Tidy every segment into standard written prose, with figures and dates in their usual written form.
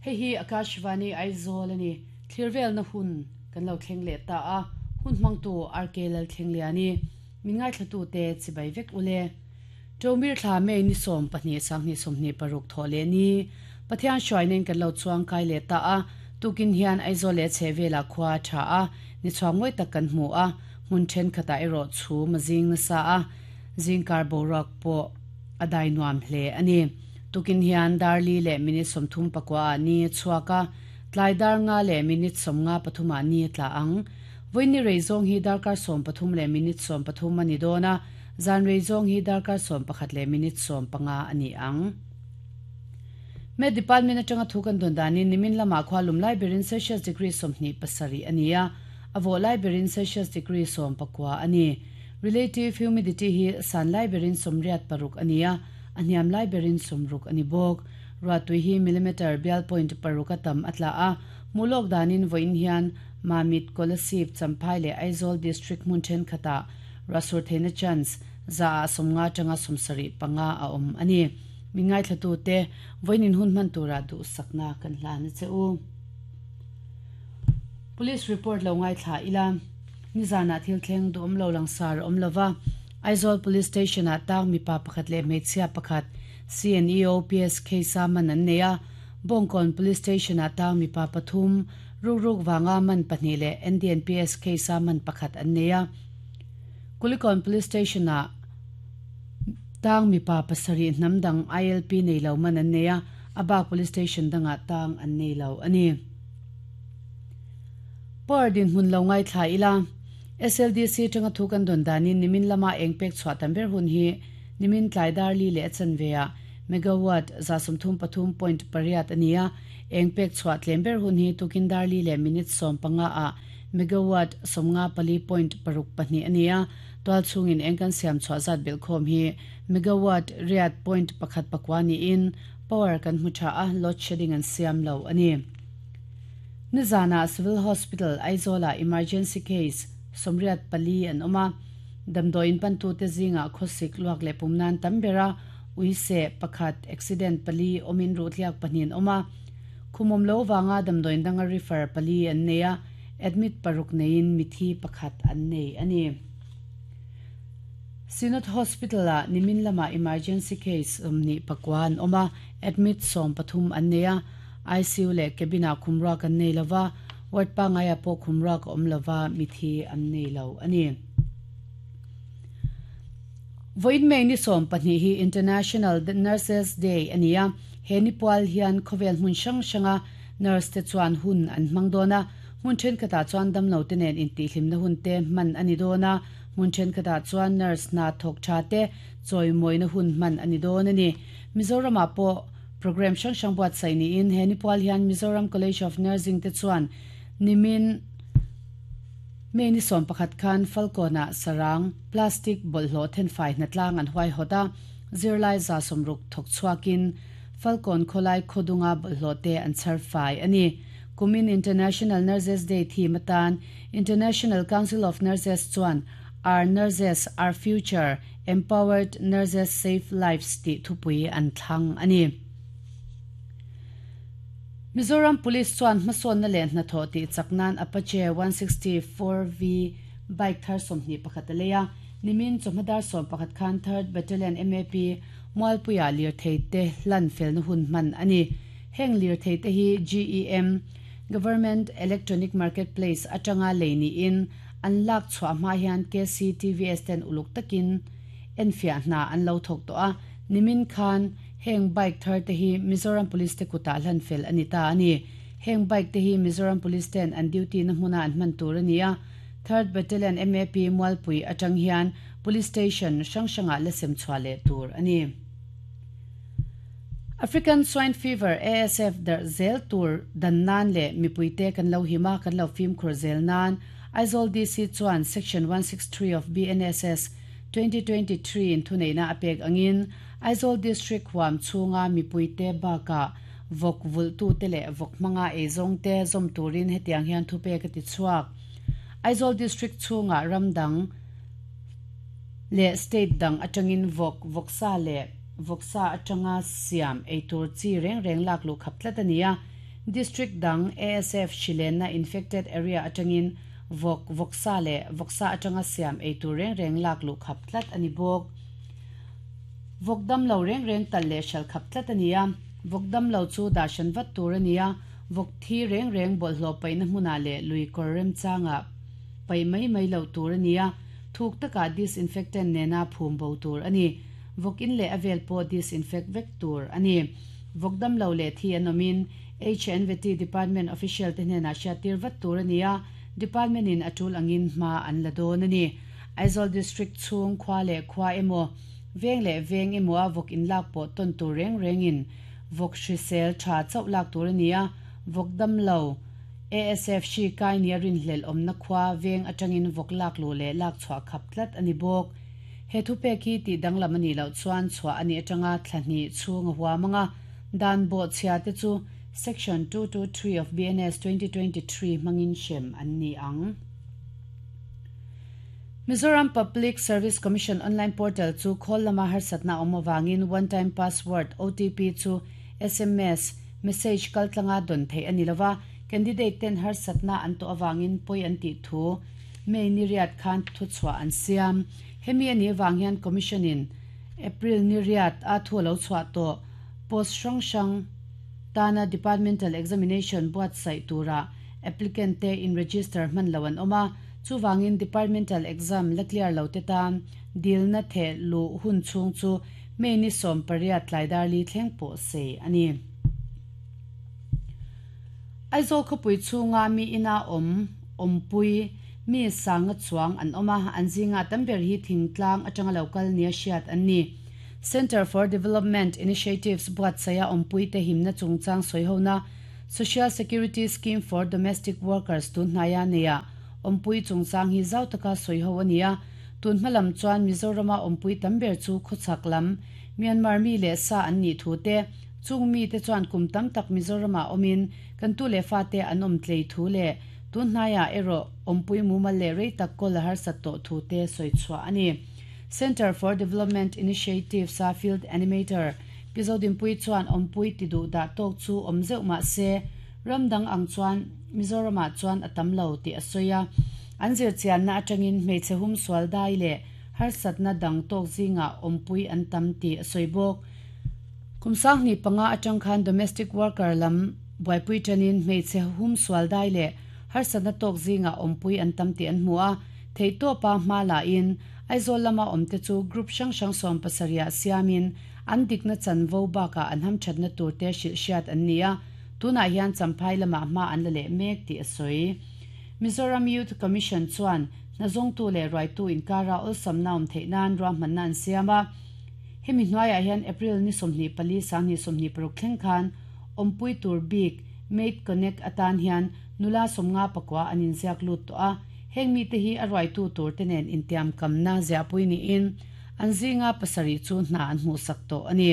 Hei hi Akashvani Aizawl a ni. Thlir velna hun kan lo thleng leh ta a, hun hmangtu RK Lalthlengliani, min ngaithlatute chibai vek ule. Ṭomir thla May ni 12 2026 thawh leh ni, Pathian hruainain kan lo chuang kai leh ta a, tukin hian Aizawl leh a chhehvelah khua a ṭha a, ni chhuak mawi tak kan hmu a, hmun ṭhenkhatah erawh chhum a zing nasa a, zingkar boruak pawh a dai nuam hle a ni. Tukin hian dar li leh minute 39 ah ni a chhuak a, tlai dar nga leh minute 53 ah ni a tla ang. Vawiin rei zawng hi darkar 13 leh minute 13 a ni dawn a, Zan rei zawng hi darkar 11 leh minute 15 a ni ang. Met Department atanga thu kan dawn danin nimin lamah khua lum lai berin Celsius degree 27 a ni a, a vawh lai berin Celsius degree 19 a ni. Relative humidity hi san lai berin 86 a ni a, a hniam lai berin 60 a ni bawk. Ruahtui hi millimeter bial point paruk a tam a tla a, hmuh lawk danin vawiin hian Mamit, Kolasib, Champhai leh Aizawl District hmun thenkhatah Ruahsur theihna chance za ah 50 atanga 75 a awm a ni. Min ngaithlatute, vawiin hun hman turah duhsakna kan hlan a che u. Police report lo ngaithla ila, nizanah thil thleng duhawm lo langsar a awm lova, Aizawl Police Station ah tang mipa pakhat leh hmeichhia pakhat CNEO PSK sa man an nei a, Bawngkawn Police Station ah tang mipa pathum rukruk vanga man pahnih leh NDNPS case a man pakhat an nei a. Kulikawn Police Station ah tang mipa pasarih hnam dang ILP nei lo man an nei a, a bak Police Station dangah tang an nei lo a ni. Power dinhmun lo ngaithla ila, SLDC tanga thu kan dawn danin nimin lama eng pek chhuah tam ber hun hi nimin tlai dar li leh a chanve ah megawatt 133.8 a ni a, eng pek chhuah tlem ber hun hi tukin dar li leh minute 15 ah megawatt 54.62 a ni a, tual chhungin eng kan siam chhuah zat belh khawm hi megawatt riat point pakhat pakua niin power kan hmu tha a, load shedding an siam lo a ni. Nizanah Civil Hospital Aizawlah emergency case 84 an awm a, damdawiin pantute zingah khawsik luak leh pum nan tam ber a, uiseh pakhat, accident pali awmin ruhtliak pahnih an awm a, khumawm lo vanga damdawiin danga refer pali an nei a, admit paruk neiin mithi pakhat an nei a ni. Synod Hospital-ah nimin lamah emergency case 29 an awm a, admit 13 an nei a, ICU leh cabin-ah khumruak an nei lova, ward pangaiah pawh khumruak a awm lova, mithi an nei lo a ni. Vawiin May ni 12 hi International Nurses Day a ni a, he ni pual hian khawvel hmun hrang hranga nurse te chuan hun an hmang dawn a, hmun thenkhatah chuan damlo te nen intihhlimna hun te hman a ni dawn a, hmun thenkhatah chuan nurse hna thawk tha te chawimawina hun hman a ni dawn a ni. Mizoramah pawh programme hrang hrang buatsaih niin he ni pual hian Mizoram College of Nursing te chuan nimin May ni 11 khan Falkawnah sarang, plastic, bawlhhlawh thenfai hnatlang an huaihawt a, zirlai 60 thawk chhuakin Falkawn khawlai khawdunga bawlhhlawh te an chhar fai a ni. Kumin International Nurses Day theme atan International Council of Nurses chuan Our Nurses, Our Future, Empowered Nurses Save Lives tih thupui an thlang a ni. Mizoram Police chuan hmasawnna leh hnathawh tih chak nan Apache 164V bike thar 21 a lei a, nimin chawhma dar 11 khan Third Battalion MAP Mualpuiah lirthei te hlan felna hun hman a ni. Heng lirthei te hi GEM, Government Electronic Market Place, atanga lei niin an lak chhuah hma hian KCTVS ten uluk takin enfiah hna an lo thawk tawh a, nimin khan heng bike thar te hi Mizoram Police te kutah hlan fel a ni ta a ni. Heng bike te hi Mizoram Police ten an duty na hmuna an hman tur a ni a, Third Battalion MAP Mualpui atang hian Police Station hrang hrangah la sem chhuah leh tur a ni. African Swine Fever, ASF, darh zel tur dan nan leh mipuite kan lo him a, kan lo fimkhur zel nan Aizawl DC chuan Section 163 of BNSS 2023 in thuneihna a pek angin Aizawl District huam chhunga mipuite bakah vawk vulhtute leh vawk hmanga eizawngte zawm turin hetiang hian thupek a ti chhuak. Aizawl District chhungah ram dang leh state dang atangin vawk, vawksa leh vawksa atanga siam eitur chi reng reng lak luh khap tlat a ni a. District dang ASF hri lenna infected area atangin vawk, vawksa leh vawksa atanga siam ei tur reng reng lak luh khap tlat a ni bawk. Vawk dam lo reng reng talh leh hralh khap tlat a ni a, vawk dam lo chu dah hran vat tur a ni a, vawk thi reng reng bawlhhlawh paihna hmunah leh lui kawr remchangah paih mai mai loh tur a ni a, thuk takah disinfectant nena phum bo tur a ni. Vawk in leh a vel pawh disinfect vek tur a ni. Vawk dam lo leh thi an awmin HNVT Department official te hnenah hriattir vat tur a ni a, Department in a tul angin hma an la dawn a ni. Aizawl District chhung khua leh khua emaw, veng leh veng emaw a vawk inlak pawh tawn tur reng rengin vawk hrisel tha chauh lak tur a ni a, vawk dam lo, ASF hri kai nia rinhlelh awmna khua veng atangin vawk lak luh leh lak chhuah khap tlat a ni bawk. He thupek hi tih danglam a nih loh chuan chhuah a nih atanga thla hnih chhung a huam ang a, dan bawhchhia te chu Section 223 of BNS 2023 hmangin hrem an ni ang. Mizoram Public Service Commission online portal chu khawl lama harsatna a awm avangin One Time Password, OTP, chu sms message kaltlanga dawn theih a ni lova, candidate ten harsatna an tawh avangin pawi an tih thu May ni riat khan thuchhuah an siam. Hemi a nih avang hian Commission in April ni riat a thu a lo chhuah tawh post hrang hrang tana Departmental Examination buatsaih tura applicant te in register hman lo an awm a, chuvangin Departmental Exam la clear lo te tan dilna theh luh hun chhung chu May ni 18 tlai dar li thleng pawh sei a ni. Aizawl khawpui chhunga mi ina awm, awmpui, mi sanga chuang an awm a, an zinga tam ber hi thingtlang atanga lo kal nia hriat an ni. Centre for Development Initiatives buatsaia awmpuite himna chungchang sawihona Social Security Scheme for Domestic Workers tun hnaia neia awmpui chungchang hi zau taka sawiho a ni a, tun hma lam chuan Mizorama awmpui tam ber chu khawchhak lam Myanmar mi leh sa an nih thu te, chung mite chuan kum tam tak Mizoramah awmin kan tu leh fate an awm tlei thu leh tun hnaiah erawh awmpui mumal leh rei tak kawl a harsat tawh thu te sawi chhuah a ni. Centre for Development Initiatives-a Field Animator Pi Zodinpuii chuan awmpui ti duh dah tawk chu awm zeuh mah se, ram dang ang chuan Mizoramah chuan a tam lo tih a sawi a. An zirchianna atangin hmeichhe humsual dai leh harsatna dang tawk zingah awmpui an tam tih a sawi bawk. Kum 2005 atang khan domestic worker lam buaipui tanin hmeichhe humsual dai leh harsatna tawk zingah awmpui an tam tih an hmu a, theihtawpa hma lahin Aizawl lama awmte chu group hrang hrang 70 ah siamin an dikna chanvo bakah an hamthatna turte hrilh hriat an ni a, tunah hian Champhai lamah hma an la leh mek tih a sawi. Mizoram Youth Commission chuan hnazawngtu leh ruaitu inkara awlsamna awm theih nan ruahmanna an siam a, hemi hnuaiah hian April ni 24 2026 thleng khan awmpui tur bik Mate Connect atan hian nula 59 an inziak lut tawh a, heng mite hi a ruaitu turte nen intiamkamna ziahpui niin An zinga pasarih chu hna an hmuhsak tawh a ni.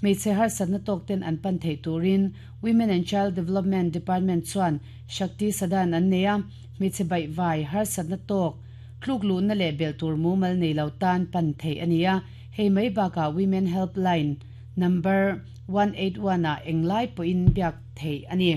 Hmeichhe harsatna tawk ten an pan theih turin Women and Child Development Department chuan Shakti Sadan an nei a, hmeichhe baihvai harsatna tawk tluk luhna leh belh tur mumal nei lo tan pan theih a ni a, hei mai bakah Women Helpline number 181 ah englai pawhin biak theih a ni.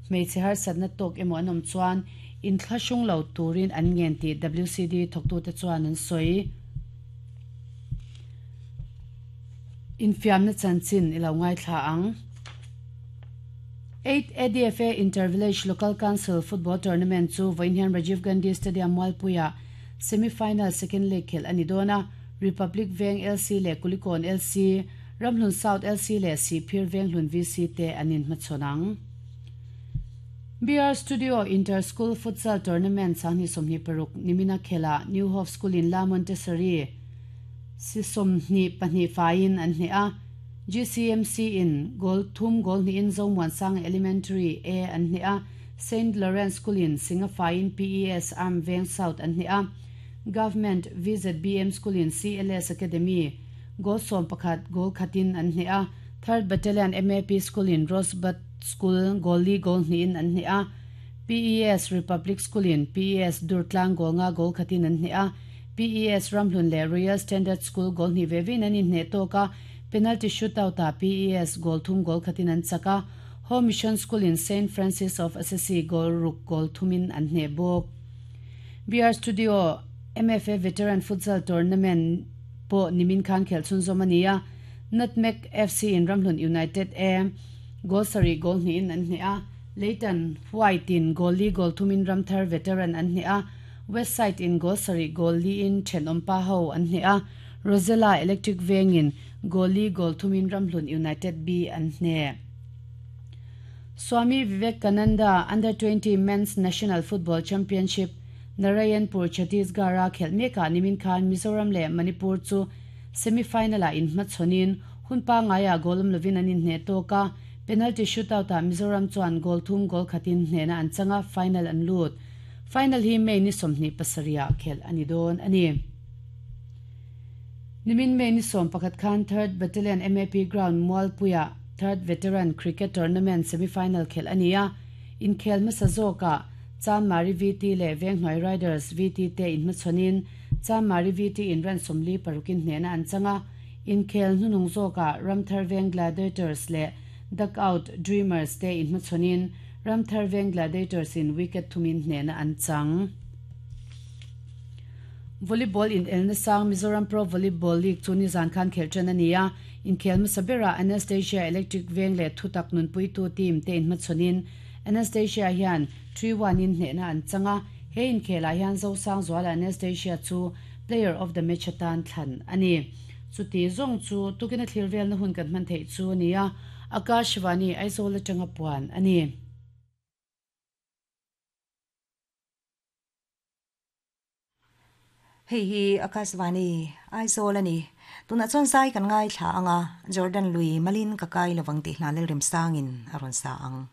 Hmeichhe harsatna tawk emaw an awm chuan inthlahrung lo turin an ngen tih WCD thawktute chuan an sawi. Infiamna chanchin i lo ngaithla ang. Eighth ADFA Inter-Village Local Council Football Tournament chu vawiin hian Rajiv Gandhi Stadium Mualpuiah semi-final second leg khelh a ni dawn a, Republic Veng LC leh Kulikawn LC, Ramhlun South LC leh Sihphir Venghlun VC te an inhmachhawn ang. BR Studio Inter School Futsal Tournament 2026 nimina khelhah New Hope School in La Montessori si 22 faiin an hneh a, GCMC in goal thum goal hnihin Zomuansanga Elementary A an hneh a, Saint Lawrence School in singa faiin PES Arm Veng South an hneh a, Government VZBM School in CLS Academy goal 11 goal khatin an hneh a, Third Battalion MAP School in Rosebud School goal li goal hnihin an hneh a, PES Republic School in PES Durtlang goal nga goal khatin an hneh a, PES Ramhlun leh Royal Standard School goal hnih ve vein an inhneh tawk a, penalty shootout ah PES goal thum goal khatin an chak a. Home Mission School in Saint Francis of Assisi goal ruk goal thumin an hneh bawk. BR Studio MFA Veteran Futsal Tournament pawh nimin khan khelh chhunzawm a ni a, Nutmeg FC in Ramhlun United A goal sarih goal hnihin an hneh a, Leighton White in goal li goal thumin Ramthar Veteran an hneh a, Westside in goal sarih goal liin thenawm pa ho an hneh a, Rosella Electric Vengin goal li goal thumin Ramhlun United B an hneh. Swami Vivekananda Under 20 Men's National Football Championship Narayanpur, Chhattisgarh-a khelh mekah nimin khan Mizoram leh Manipur chu semi-final-ah inhmachhawnin hun pangaiah goal awm lovin an inhneh tawk a, penalty shootout-ah Mizoram chuan goal thum goal khatin hnehna an chang a, final an lut. Final hi May ni 27 ah khelh a ni dawn a ni. Nimin May ni 11 khan Third Battalion MAP Ground Mualpuiah Third Veteran Cricket Tournament semi-final khelh a ni a, inkhel hmasa zawkah Chanmari VT leh Venghnuai Riders VT te inhmachhawnin Chanmari VT in run 46 in hnehna an chang a, inkhel hnuhnung zawkah Ramthar Veng Gladiators leh Duckout Dreamers te inhmachhawnin Ramthar Veng Gladiators in wicket thumin hnehna an chang. Volleyball inelna sang Mizoram Pro Volleyball League chu nizan khan khelh tan a ni a, inkhel hmasa berah Anastasia Electric Veng leh Thutak nunpuitu team te inhmachhawnin Anastasia hian 3-1 in hnehna an chang a, he inkhelah hian Zosangzuala Anastasia chu Player of the Match atan thlan a ni. Chuti zawng chu tukina thlir velna hun kan hman theih chu a ni a, Akashvani Aizawl atanga puan a ni. Hei hi Akashvani Aizawl a ni. Tunah chuan zai kan ngaithla ang a, Jordan lui malin ka kai lovang tih hna Lalremsangin a rawn sa ang.